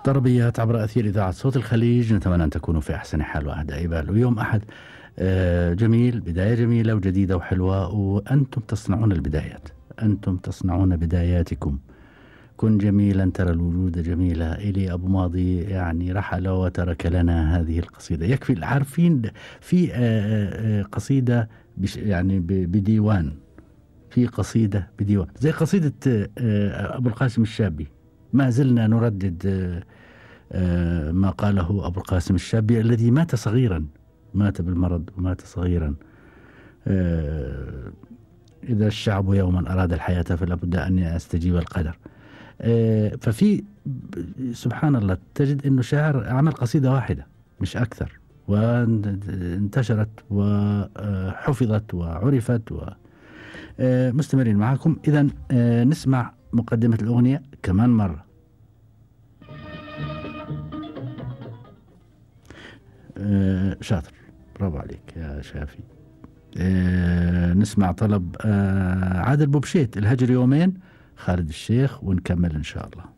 طربيات عبر أثير إذاعة صوت الخليج، نتمنى أن تكونوا في أحسن حال وأهدى بال. ويوم أحد جميل، بداية جميلة وجديدة وحلوة، وأنتم تصنعون البدايات، أنتم تصنعون بداياتكم. كن جميلا ترى الوجود جميلة. إلي أبو ماضي يعني رحل وترك لنا هذه القصيدة. يكفي عارفين في قصيدة يعني بديوان، في قصيدة بديوان زي قصيدة أبو القاسم الشابي. ما زلنا نردد ما قاله أبو القاسم الشابي الذي مات صغيرا، مات بالمرض ومات صغيرا. إذا الشعب يوما أراد الحياة فلا بد أن يستجيب القدر. ففي سبحان الله تجد أنه شاعر عمل قصيدة واحدة مش أكثر، وانتشرت وحفظت وعرفت. مستمرين معكم. إذن نسمع مقدمة الأغنية كمان مرة. شاطر، برافو عليك يا شافي. نسمع طلب عادل بوبشيت، الهجر يومين، خالد الشيخ، ونكمل إن شاء الله.